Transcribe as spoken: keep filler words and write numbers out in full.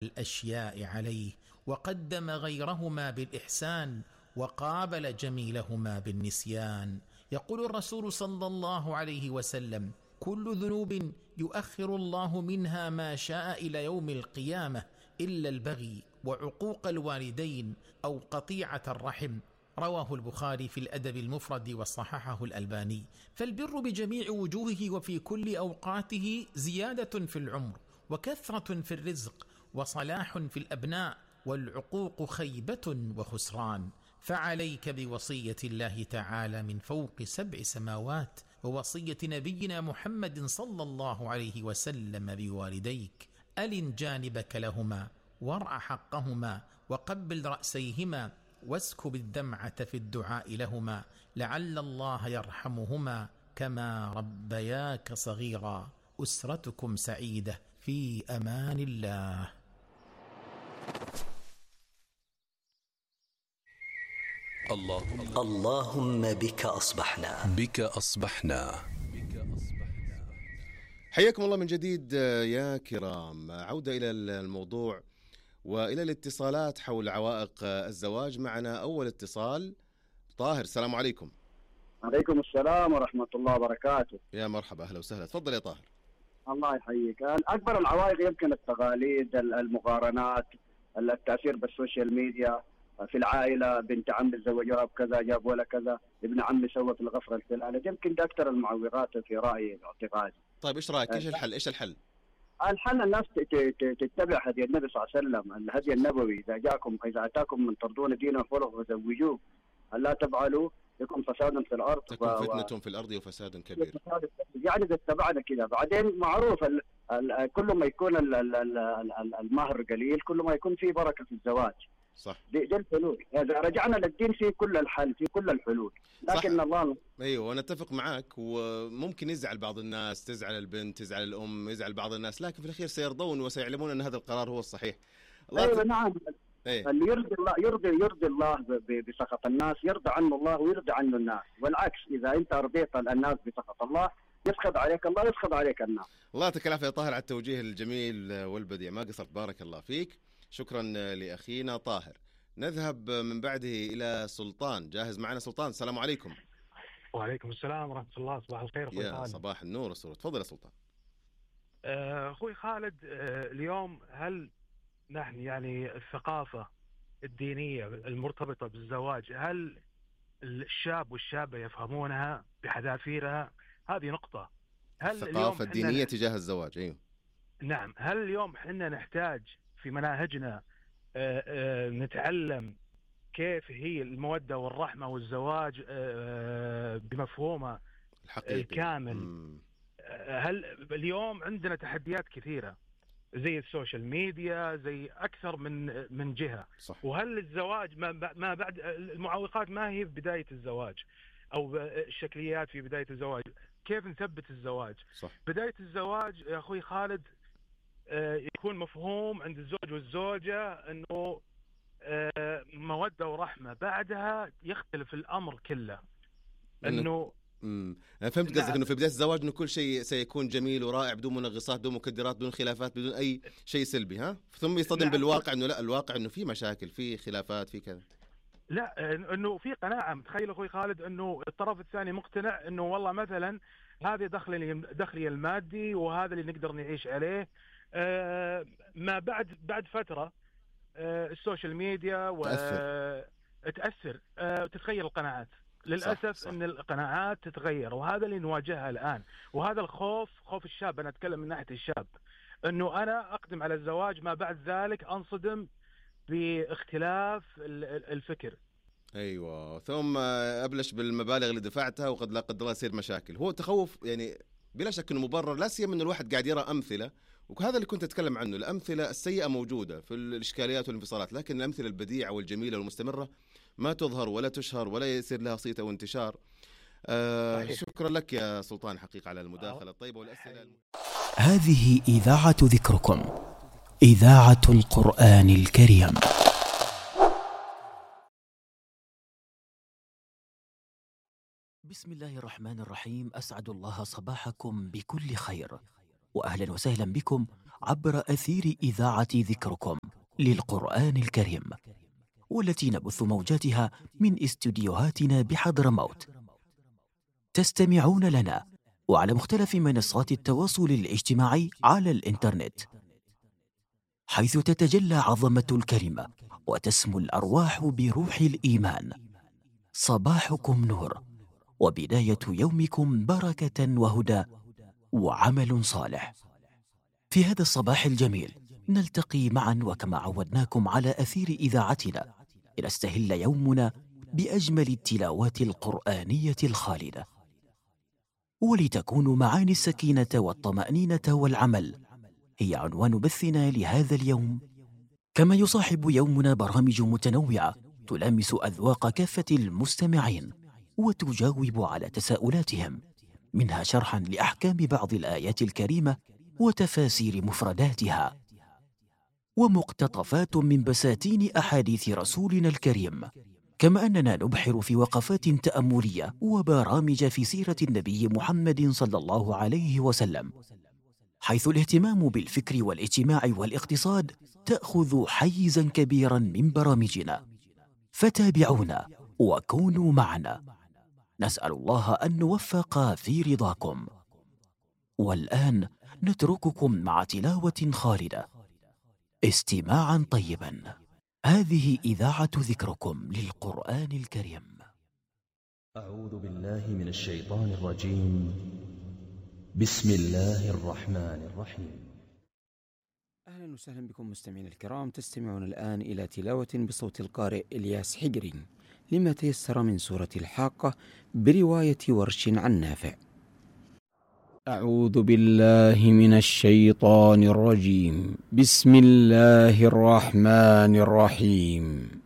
الأشياء عليه، وقدم غيرهما بالإحسان، وقابل جميلهما بالنسيان. يقول الرسول صلى الله عليه وسلم: كل ذنوب يؤخر الله منها ما شاء إلى يوم القيامة إلا البغي وعقوق الوالدين أو قطيعة الرحم. رواه البخاري في الأدب المفرد وصححه الألباني. فالبر بجميع وجوهه وفي كل أوقاته زيادة في العمر، وكثرة في الرزق، وصلاح في الأبناء، والعقوق خيبة وخسران. فعليك بوصية الله تعالى من فوق سبع سماوات، ووصية نبينا محمد صلى الله عليه وسلم بوالديك: ألن جانبك لهما، وارع حقهما، وقبل رأسيهما، واسكب الدمعة في الدعاء لهما، لعل الله يرحمهما كما ربياك صغيرا. أسرتكم سعيدة، في أمان الله. اللهم اللهم بك أصبحنا بك أصبحنا. حياكم الله من جديد يا كرام. عودة إلى الموضوع وإلى الاتصالات حول عوائق الزواج. معنا أول اتصال. طاهر، السلام عليكم. عليكم السلام ورحمة الله وبركاته. يا مرحبا، أهلا وسهلا. تفضل يا طاهر. الله يحييك. أكبر العوائق يمكن التقاليد، المقارنات، التأثير بالسوشيال ميديا. في العائلة بنت عمي تزوجوها بكذا، جاب ولا كذا، ابن عمي سوى في الغفرة الفلانية. يمكن ده أكثر المعوقات في رأيي واعتقادي. طيب إيش رأيك؟ إيش الحل؟ إيش الحل؟ الحل الناس تتبع هدي النبي صلى الله عليه وسلم، الهدي النبوي: إذا جاءكم إذا أتاكم من ترضون دينه وخلقه فزوجوه، ألا تفعلوا يكون فساد في الأرض، تكون و... فتنة في الأرض وفساد كبير. يعني إذا اتبعنا كذا. بعدين معروف ال... ال... كل ما يكون ال... ال... ال... المهر قليل كل ما يكون في بركة في الزواج. صح. دي, دي الحلول. إذا رجعنا للدين في كل الحل، في كل الحلول. لكن صح. الله ايوه انا اتفق معك. وممكن يزعل بعض الناس، تزعل البنت، تزعل الام، يزعل بعض الناس، لكن في الاخير سيرضون وسيعلمون ان هذا القرار هو الصحيح. الله ايوه ت... نعم. أيه. اللي يرضي الله يرضي يرضي الله بسخط الناس يرضى عنه الله ويرضى عنه الناس، والعكس اذا انت رضيت الناس بسخط الله يسخط عليك الله يسخط عليك الناس. الله يعطيك العافيه يا طاهر على التوجيه الجميل والبديع، ما قصرت، بارك الله فيك. شكرا لاخينا طاهر. نذهب من بعده إلى سلطان. جاهز معنا سلطان؟ السلام عليكم. وعليكم السلام ورحمة الله. صباح الخير أخوي يا خالد. صباح النور والسرور. تفضل يا سلطان. أخوي خالد، اليوم هل نحن يعني الثقافة الدينية المرتبطة بالزواج هل الشاب والشابة يفهمونها بحذافيرها؟ هذه نقطة. هل الثقافة الدينية تجاه الزواج؟ أيوه نعم. هل اليوم حنا نحتاج في مناهجنا أه أه نتعلم كيف هي المودة والرحمة والزواج أه بمفهومه الحقيقي الكامل؟ مم. هل اليوم عندنا تحديات كثيرة زي السوشيال ميديا، زي أكثر من من جهة. صح. وهل الزواج ما بعد المعوقات ما هي في بداية الزواج أو الشكليات في بداية الزواج؟ كيف نثبت الزواج؟ صح. بداية الزواج يا أخوي خالد يكون مفهوم عند الزوج والزوجة أنه مودة ورحمة، بعدها يختلف الأمر كله. أنه امم انا فهمت قصدك، انه في بدايه الزواج انه كل شيء سيكون جميل ورائع بدون منغصات، بدون مكدرات، بدون خلافات، بدون اي شيء سلبي، ها ثم يصطدم نعم. بالواقع انه لا، الواقع انه في مشاكل، في خلافات، في كذا. لا، انه في قناعه. متخيل اخوي خالد انه الطرف الثاني مقتنع انه والله مثلا هذا دخلي دخلي المادي وهذا اللي نقدر نعيش عليه. آه ما بعد بعد فتره آه السوشيال ميديا وتأثر آه تتغير القناعات. للأسف صح صح. أن القناعات تتغير، وهذا اللي نواجهها الآن، وهذا الخوف، خوف الشاب. أنا أتكلم من ناحية الشاب، أنه أنا أقدم على الزواج ما بعد ذلك أنصدم باختلاف الفكر. أيوة، ثم أبلش بالمبالغ اللي دفعتها وقد لا قدر الله يصير مشاكل. هو تخوف يعني بلا شك أنه مبرر، لا سيما أن الواحد قاعد يرى أمثلة، وهذا اللي كنت أتكلم عنه. الأمثلة السيئة موجودة في الإشكاليات والانفصالات، لكن الأمثلة البديعة والجميلة والمستمرة ما تظهر ولا تشهر ولا يصير لها صيت أو انتشار. آه شكرا لك يا سلطان حقيقة على المداخلة الطيبة والأسئلة. هذه إذاعة ذكركم، إذاعة القرآن الكريم. بسم الله الرحمن الرحيم. أسعد الله صباحكم بكل خير، وأهلا وسهلا بكم عبر أثير إذاعة ذكركم للقرآن الكريم، والتي نبث موجاتها من استديوهاتنا بحضرموت. تستمعون لنا وعلى مختلف منصات التواصل الاجتماعي على الإنترنت، حيث تتجلى عظمة الكلمة وتسمو الأرواح بروح الإيمان. صباحكم نور، وبداية يومكم بركة وهدى وعمل صالح. في هذا الصباح الجميل نلتقي معا وكما عودناكم على أثير إذاعتنا لنستهل يومنا بأجمل التلاوات القرآنية الخالدة، ولتكون معاني السكينة والطمأنينة والعمل هي عنوان بثنا لهذا اليوم. كما يصاحب يومنا برامج متنوعة تلامس أذواق كافة المستمعين وتجاوب على تساؤلاتهم، منها شرحا لأحكام بعض الآيات الكريمة وتفاسير مفرداتها، ومقتطفات من بساتين أحاديث رسولنا الكريم. كما أننا نبحر في وقفات تأملية وبرامج في سيرة النبي محمد صلى الله عليه وسلم، حيث الاهتمام بالفكر والاجتماع والاقتصاد تأخذ حيزا كبيرا من برامجنا. فتابعونا وكونوا معنا، نسأل الله أن نوفق في رضاكم. والآن نترككم مع تلاوة خالدة، استماعا طيبا. هذه إذاعة ذكركم للقرآن الكريم. أعوذ بالله من الشيطان الرجيم. بسم الله الرحمن الرحيم. أهلا وسهلا بكم مستمعينا الكرام، تستمعون الآن إلى تلاوة بصوت القارئ إلياس حجري لما تيسر من سورة الحاقة برواية ورش عن نافع. أعوذ بالله من الشيطان الرجيم. بسم الله الرحمن الرحيم.